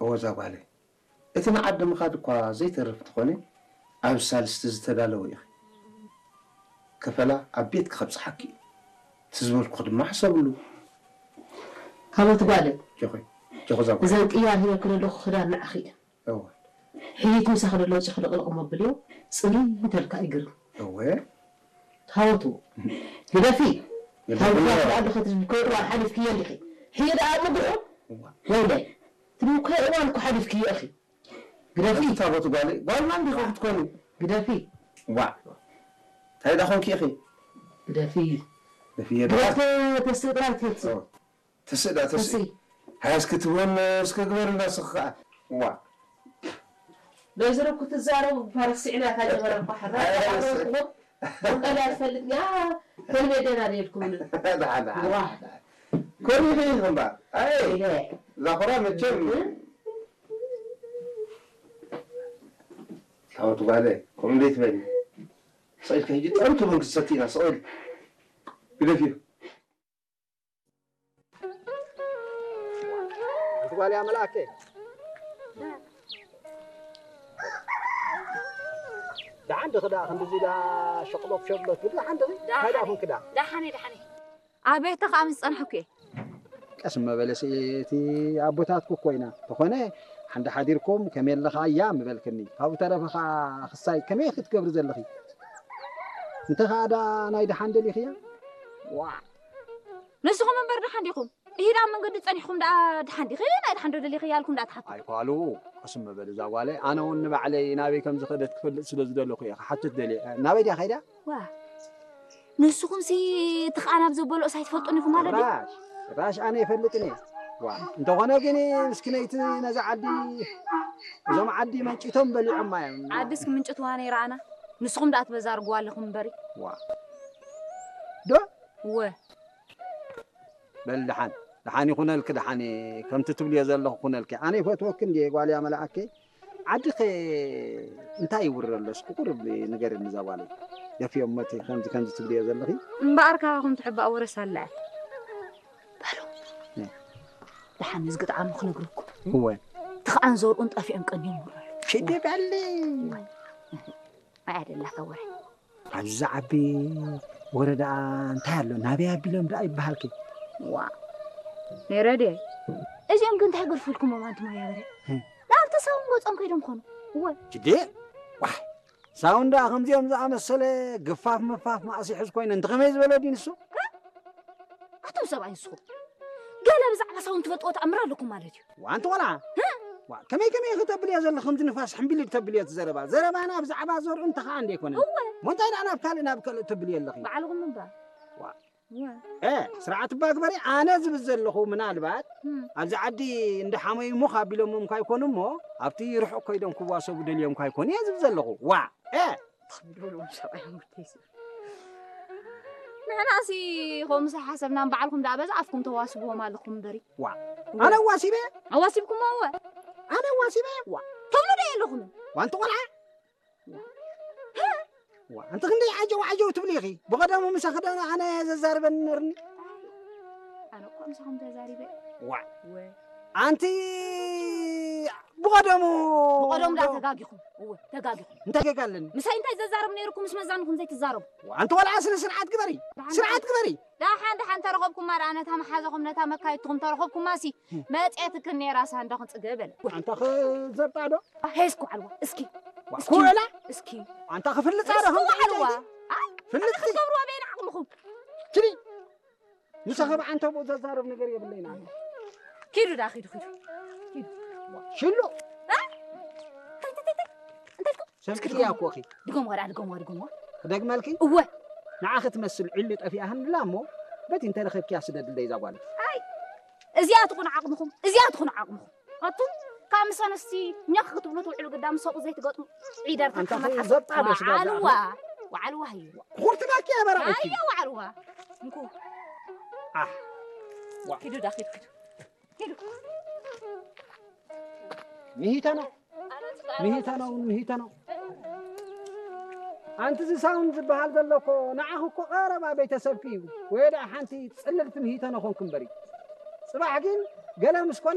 ወዛ ጓለይ፣ እቲ ንዓዲ ምኻድ እኳ ዘይተርፍ እንተኾነ፣ ኣብ ሳልስቲ ዝተዳለወ ኢኺ። ከፈላ ኣብ ቤትኪ ከብጽሓኪ እዩ። እቲ ዝበልኩኺ ድማ ሕሰብሉ። ሃወት ጓለይ፣ ጆኾይ፣ ጆኾ እዛ ጓለይ። እዘን ቅያር ሂበኪ ዘለኹ ክዳን ንዓኺ እየን። እወ። ሕይት ምሳኺ ደሎ ጭኽልቕልቕ መብልዮ፣ ጽርይ እንተልካ ይግርም። እወ። ሃወቱ፣ ግደፊ። ግደፊ። ሃወቱ፣ ኣደ ኸትብል ከይእዋን ሓሊፍክዮ እንዲኺ። ሕየ ደኣ ኣብ ምጉሑ? እዋ። ወይለይ። ትብል ከይእዋን እኮ ሓሊፍክዮ ኢኺ። ግደፊ። ኣንቲ ታቦት ጓል፣ ጓልና እንዲኹ ክትኮኒ። ግደፊ። ዋ። እንታይ ደኣ ኾንኪ ኢኺ? ግደፊ። ግደፊ፣ ግደፊ። ግደፊ፣ ተስእ ጥራይ ትፈትሲ። ኦ። ተስእ ደኣ ተስእ። ተስእ። ሃያ እስኪ ትብሎን እስከ ግበርልና እስኺ ኸዓ። ዋ። ወይዘሮ ክትዛረቡ ፋርስ ስዕላ እታ ጀበና እኳ ሕራ ኣይ፣ ኣይ፣ ተዛረብኩሞ። ወንጌል ኣይትፈልጥን እያ፣ ተልሜደና ደልኩምኒ። ደሓን፣ ደሓን፣ ዋ። ደሓን። ኮሪኺ ኢኺ እምበኣር። ኣይ፣ ኢለ። እዛ ኹራ መቸም። እ? ታቦት ጓለይ፣ ከምኡ ዘይትበሊ። ስቕ ኢልኪ ሕጂ ጠምቱ ቡን ክትሰቲ ኢና፣ ስቕ ኢልኪ። ግደፍዮ። ሓንቲ ጓል እያ መልኣከ። ደሓን ድኺ ደኣ ክንድዚ ደኣ ሸቕሎት ሸቕሎት ትብሊ ደሓን ድኺ? ደሓን እንታይ ደኣ እየ። ኮንኪ ደኣ? ደሓን እየ፣ ደሓን እየ። ኣብ ቤትካ ምስ ጸንሐኩ እየ። ቀስ መበለሲ እቲ ኣቦታትኩ እኮ ኢና። ተኾነ ሓንዳ ሓዲርኩም ከመይ ኣለኻ እያ ምበልክኒ። ካብኡ ተረፈ ኸኣ ክሳይ ከመይ ክትገብሪ ዘለኺ? እንተ ኸኣ ደኣ ናይ ደሓን ደሊኽያ? ዋ። ንስኹም እምበር ደሓን ዲኹም? ኢሂድ ኣብ መንገዲ ጸኒሕኩም ደኣ ደሓን ዲኺ? ናይ ደሓን ዶ ደሊኺ እያልኩም ደኣ ትሓቱ? ኣይፋሉ፣ ቀስ መበሊ እዛ ጓለይ። ኣነ እውን ንባዕለይ ናበይ ከም ዝኸደት ክፈልጥ ስለ ዝደለኹ እየ ክሓትት ደልየ። ናበይ ድያ ከይዳ? ዋ። ንስኹምሲ እቲ ኸኣ ናብ ዘበልኦስ ኣይትፈልጡን ኢኹም ማለት ድዩ? ጭራሽ፣ ጭራሽ ኣነ ይፈልጥን እየ። ዋ፣ እንተኾነ ግን ምስኪነይቲ ነዛ ዓዲ፣ እዞም ዓዲ መንጭቶም በሊዖማ እዮም። ዓድስ ክምንጭትዋ ነይራ ኣና። ንስኹም ደኣ ትበዛርግዋ ኣለኹም እምበሪ። ዋ። ዶ? እወ። በል ደሓን፣ ደሓን ይኹነልኪ፣ ደሓን ከምቲ ትብልዮ ዘለኹ ኩነልኪ። ኣነ ይፈትወኪ እንድየ ጓል እያ መልኣከይ። ዓድኸ እንታይ ይውረ ኣሎ? እስኪ ቁሩብ ንገርኒ እዛ ጓለይ። ደፍዮም መቲ ከምዚ ከምዚ ትብልዮ ዘለኺ? እምበኣር ካባኹም ትሕባእ ወረስ ኣለ። በሉ። እ። ደሓን እዚ ግጥዓሙ ክነግረኩም። እወ። ትኽኣን ዘርኡን ጠፊኦም ቀንዮም ይውረ ኣሎ። ሽዲ በሊ። እወ። ኣይ ኣደላታ ወረ። ኣብዚ ዝዓቢ ወረ ደኣ እንታይ ኣሎ? ናበይ ኣቢሎም ደኣ ይበሃልኪ? ዋ። ነይረ ድየ? እዚኦም ግን እንታይ ገርፍልኩሞም ኣንቱም ኣያበረ? ህም። ናብ ተሳውን ገጾም ከይዶም ኮኑ። እወ። ጅዴ? ዋይ። ሳውን ደኣ ከምዚኦም ዝኣመሰለ ግፋፍ ምፋፍ ማእሲ ሕዝ ኮይነ እንተ ከመይ ዝበለ ድዩ ንሱ? ኣቱም ሰብኣይ ንስኹም። ገለ ብዛዕባ ሳውን ትፈልጥዎ ተኣምር ኣለኩም ማለት እዩ። ዋንቲ ቆልዓ። ዋ፣ ከመይ ከመይ ኢኺ ተብልዮ ዘለኺ ከምዚ ንፋስ ሕምቢል ተብልዮ እቲ ዘረባ። ዘረባና ብዛዕባ ዘርኡ እንተ ኸኣ እንደ ኣይኮነን። እወ። እሞ እንታይ ደኣ ናብ ካልእ ናብ ካልእ ተብልዮ ኣለኺ? ባዕልኹም እምበር። ዋ። እወ። እ፣ ስርዓት እባ ግበሪ። ኣነ ዝብል ዘለኹ ምናልባት እም። ኣብዚ ዓዲ እንዳ ሓመዩ ሙኽ ኣቢሎሞም ካይኮኑ እሞ ኣብቲ ርሑቕ ከይዶም ክዋሰቡ ደልዮም ካይኮኑ እየ ዝብል ዘለኹ። ዋ። እ። ትኽብሉ ሰብኣይ ሙርተይስ። ንሕናሲ ከምኡ ሓሰብና እምበዓልኩም ደኣ በዛ ኣፍኩም ተዋስብዎም ኣለኹም እምበሪ። ዋ። እወ። ኣነ ኣዋሲበ? ኣዋሲብኩሞ እወ። ኣነ ኣዋሲበ? ዋ። ትብሉ ዶ የለኹምን? ዋንቲ ቆልዓ? ዋ። ኣንቲ ክንደይ ዓጀው ዓጀው ትብሊ ኢኺ? ብቐደሙ ምሳኺ ዶ ኣነ ዘዛርበኒ ነርኒ? ኣነ እኮ ምሳኹም ተዛሪበ። ዋ። እወ። ኣንቲ ብቐደሙ ብቐደሙ ደኣ ተጋጊኹም። እወ፣ ተጋጊኹም። እንታይ ጌጋ ኣለኒ? ምሳይ እንታይ ዘዛርብ ነይርኩም ምስ መዛንኹም ዘይትዛረቡ? ኣንቲ ቆልዓ ስነ ስርዓት ግበሪ። ደሓን ስርዓት ግበሪ። ደሓን ደሓን ተረኸብኩማ ደኣ ነታ መሓዛኹም ነታ መካይድትኹም ተረኸብኩማሲ መጽኤትክን ነይራ ሳንዳኹም ጽገ በለ። ኣንታ ክዘብጣ ዶ? ሄስኩ ዓልዋ እስኪ። ዋ፣ እስኪ። ኩዕላ? እስኪ። ኣንታ ክፍልጻ ዶ እስኪ ከምዚ ዓልዋ። ኢልካ? ኣይ፣ ፍልጥቲ። ኣንታ ክትገብርዋ በይን ዓቕምኹም። ትሪ። ምሳኺ ብዓንተቦ ዘዛረብ ነገር የብለይን ኣነ። ኪዱ ደኣ፣ ኪዱ፣ ኪዱ። ኪዱ። ሽሉ። እ? እንታይ፣ እንታይ፣ እንታይ? እንታይ ኢልኩም? ሰምዕያ እኮ እኺ። ድገምዋ ደኣ፣ ድገምዋ፣ ድገምዋ። ክደግመልኪ? እወ። ንዓኺ ትመስል ዒሉ ጠፊኣ ሃንድላ እሞ፣ በቲ እንተረኸብክያ ስደድለይ እዛ ጓል። ኣይ፣ እዚኣ ትኹን ዓቕምኹም፣ እዚኣ ትኹን ዓቕምኹም። ኣቱም ካብ ምስ ኣንስቲ ኛኽ ክትብሉ ትውዕሉ ግዳ ምስ ሰብኡ ዘይትገጥሙ ዒደር ኣንታ ተኸመት ሓሰብ። ዘብጣ ዶ ስጋ ወዓልዋ፣ ዘብጣ? ወዓልዋ ህዩ። ኩርትናኪ ኣበራ ኣይ፣ እኪ። ወዓልዋ። እንኩ። ኣሕ። ዋ። ኪዱ ዳ፣ ኪዱ፣ ኪዱ። ኪዱ። ምሂታ ነው። ምሂታ ነው፣ ምሂታ ነው። ኣንቲ እዚ ሳውንድ ዝበሃል ዘሎ እኮ ንዓኺ እኮ ቀረባ ቤተሰብኪ እዩ። ወይ ደኣ ሓንቲ ጽልልቲ ምሂታ ነው ኾንክ እምበሪ። ጽባሕ ግን ገለ ምስ ኮነ